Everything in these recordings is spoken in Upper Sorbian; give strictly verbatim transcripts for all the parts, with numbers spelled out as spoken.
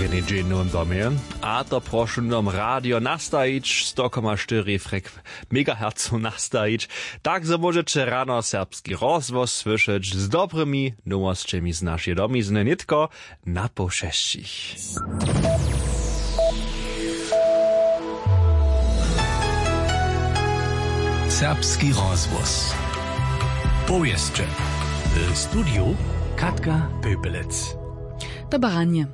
Jednej dźeń w nowym domje, a to prošu nam radio nastajić, sto koma štyri frek megahercow nastajić, tak zo móžeće rano serbski rozhłos słyšeć z dobrymi nowosćemi z našeje domizny nětko na poł šesćich. Serbski rozhłos. Powěsće. W studiju Katka Pöpelec. Dobre ranje.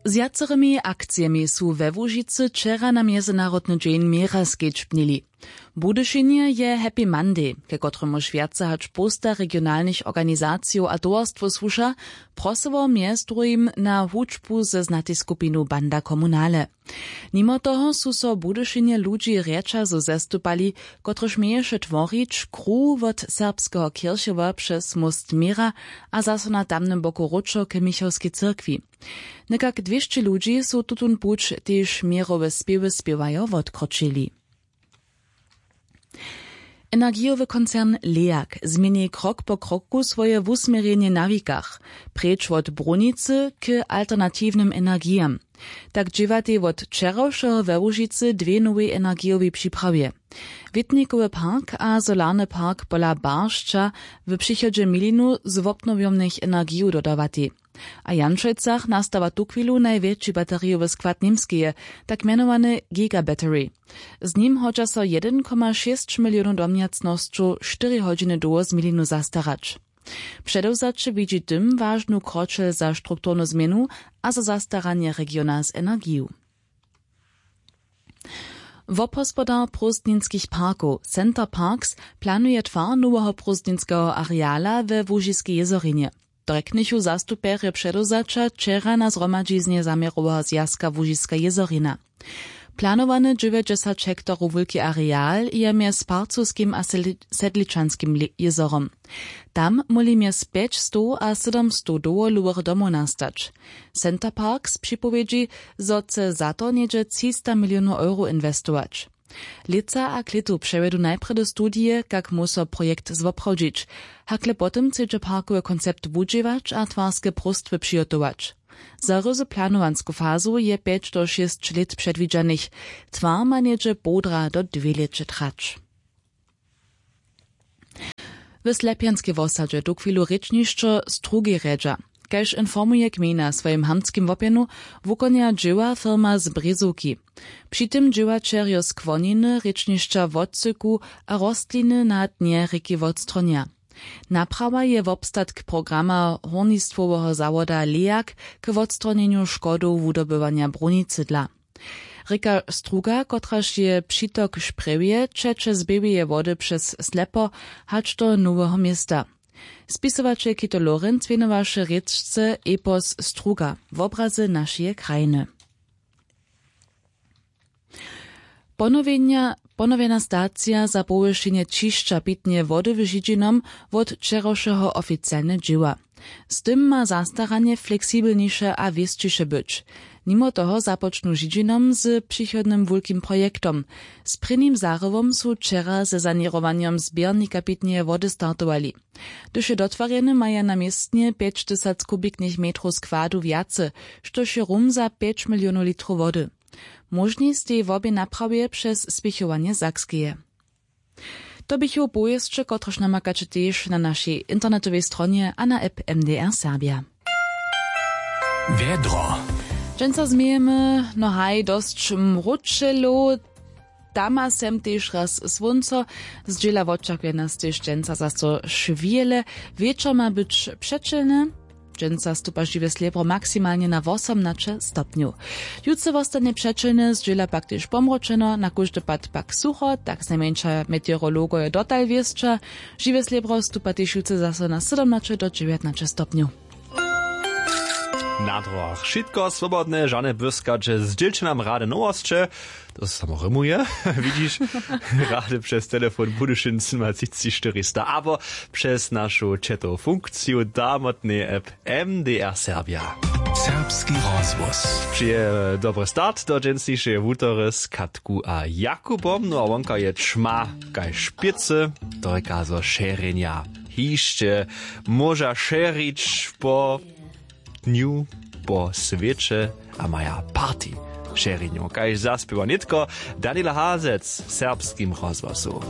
Z wjacerymi akcijemi su we Łužicy wčera na Mjezynarodny dźeń měra skedźbnili. Budyšinje je Happy Monday, ke kotremuž wjace hač połsta regionalnych organizacijow a towarstwow słuša, prosyło mjez druhim na hudźbu ze znatej skupinu Banda Kommunale. Nimo toho su so w Budyšinje ludźi rjaćazow zastupali, kotryž měješe tworić kruh wot serbskeho kěrchowa přez móst měra a zaso na tamnym boku wróćo k michałskej cyrkwi. Někak dwěsće ludźi su tutón puć, tež měrowe spěwy spěwajo, wotkročili. Energijowy koncern Leag změni krok po kroku swoje wusměrjenje na wikach, preč wot brunicy k alternatiwnym energijam. Tak dźěłatej wot wčerawšeho we Łužicy dwě nowej energijowej připrawy. Wětnikowy park a solarny park pola Baršća w přichodźe milinu z wobnowjomnych energijow dodawatej. A w Janšojcach nastawa tuchwilu najwjetši baterijowy skład Němskeje, tak mjenowany Giga Battery. Z nim hodźa so jedyn koma šěsć milionow domjacnosćow štyri hodźiny dołho z milinu zastarać. Předewzaće widźi tym wažnu kročel za strukturnu změnu a za zastaranje regiona z energiju. Wobhospodar prózdninskich parkow Center Parks planuje twar noweho prózdninskeho areala we Łužiskej jězorinje. To rjeknychu zastupjerjo předewzaća wčera na zhromadźiznje zaměroweho zwjazka Łužiska jězorina. Planowany dźewjećdźesać hektarow wulki areal je mjez Parcowskim a Sedli-, Sedličanskim li-, jězorom. Tam móhli mjez pjećstow a sydomstow dowolewych domow nastać. Center Parks připowědźi, zo chce za to něhdźe třista milionow euro inwestować. Lětsa a k lětu přewjedu najprjedy studije, kak móhł so projekt zwoprawdźić. Hakle potom chcedźe parkowy koncept wudźěłać a twarske próstwy přihotować. Za ryzy planowansku fazu je pjeć do šěsć lět předwidźanych. Twar ma něhdźe połdra do dwě lěće trać. W Slepjanskej wosadźe tuchwilu rěčnišćo Strugi rjedźa. Kaž informuje gmejna w swojim hamtskim wopjenu, wukonja dźěła firma z Brězowki. Při tym dźěłaćerjo skłoniny rěčnišća wotsyku a rostliny na dnje rěki wotstronja. Naprawa je wobstatk programa hórnistwoweho zawoda Leag k wotstronjenju škodow wudobywanja brunicy dla. Rěka Struga, kotraž je přitok šprjewje, ćeće z Běłeje Wody přez Slepo hač do Noweho Města. Spisowaćelki to Lorenc wěnowaše rěčce epos Struga, wobrazy našeje krajiny. Ponowjenja, ponowjena stacija za powyšenje ćišća pitneje wody w Židźinom wot wčerawšeho oficialne dźěła. Z tym ma zastaranje fleksibelniše a wěsćiše być. Nimo toho započnu Židźinom z přichodnym wulkim projektom. Z prěnim zarywom su wčera ze saněrowanjom zběrnika pitneje wody startowali. Hdyž je dotwarjeny, maja na městnje pjećtysac kubiknych metrow składu wjace, štož je rum za pjeć milionow litrow wody. Móžni stej wobě naprawje přez spěchowanje Sakskeje. To běchu powěsće, kotrež namakaće tež na našej internetowej stronje a na app M D R Serbia. Wjedro. Dźensa změjemy, no haj, dosć mróčelow. Tam a sem tež raz słónco. Zdźěla wočakuje nas tež dźensa zaso šwjele. Wječor ma być přećelny. Dźensa stupa žiwe slěbro maksimalnje na wosomnaće stopnjow. Jutře wostanje přećelne, zdźěla pak tež pomročeno, na kóždy pad pak sucho, tak znajmjeńša meteorologojo dotal wěsća. Žiwe slěbro stupa tež jutře zaso na sydomnaće do dźewjatnaće stopnjow. Na dróhach wšitko swobodne, žane błyskaće, zdźělće nam rady nowosće. To samo rymuje. Widźiš, rady přez telefon Budyšin sydomatřiceći štyristo abo přez našu četow funkciju damotnej app M D R Serbia. Serbski rozhłos. Přeje dobry start do dźensnišeje wutory z Katku a Jakubom. No a wonka je ćma kaž pěcy. To rěka, zo šěrjenja hišće móža šěrić po dnju. po swěće a maja party. Wšerjenju kaž zaspěwa nětko daniel hazec w serbskim rozhłosu.